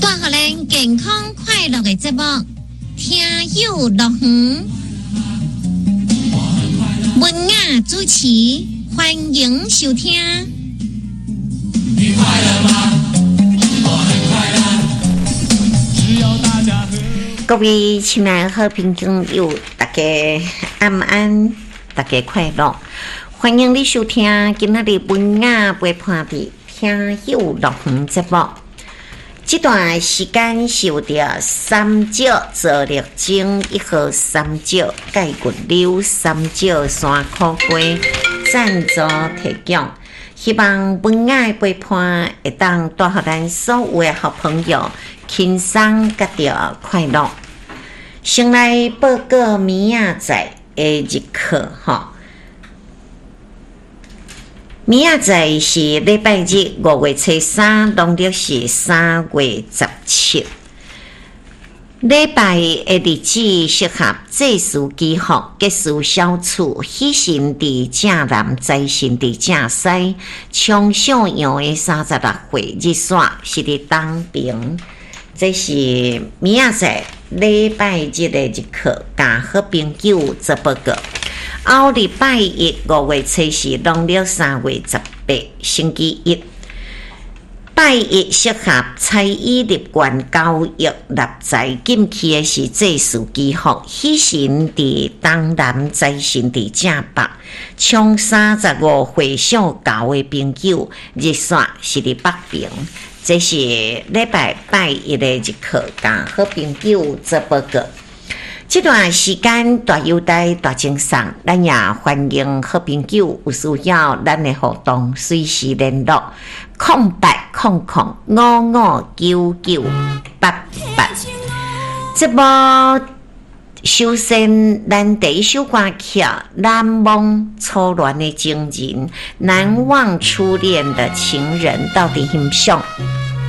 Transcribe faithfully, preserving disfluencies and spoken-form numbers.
帶予咱健康快樂的節目《聽友樂園》，文雅主持，歡迎收聽。你快樂嗎？我很快樂。只要大家和各位親愛的好朋友，大家晚安，大家快樂，歡迎你收聽今仔日文雅陪伴的聽友樂園節目。這段時間是有著三石做力精一號三石蓋骨柳三石山苦瓜贊助提供，希望文雅的陪伴會當帶予咱所有的好朋友輕鬆佮著快樂。先來報告明仔載的日課吼。明仔載是禮拜日，五月初三，農曆是三月十七。禮拜的日子適合祭祀祈福、吉事小處、喜神佇正南，財神佇正西。衝上陽的三十六歲日煞是佇東爿。這是明仔載禮拜日的日課，共好朋友做報告。後禮拜一五月初四，農曆三月十八，星期一。拜一適合彩衣立冠交易納財進去的是祭祀祈福，喜神佇東南，財神佇正北。衝三十五歲屬猴的朋友，日煞是佇北爿。這是禮拜拜一的日課，共好朋友做報告。這段時間大優待大贈送，咱也歡迎好朋友有需要咱的活動，隨時聯絡空八空空五五九九八八。節目首先，咱第一首歌曲《難忘初戀的情人》，難忘初戀的情人，到底欣賞。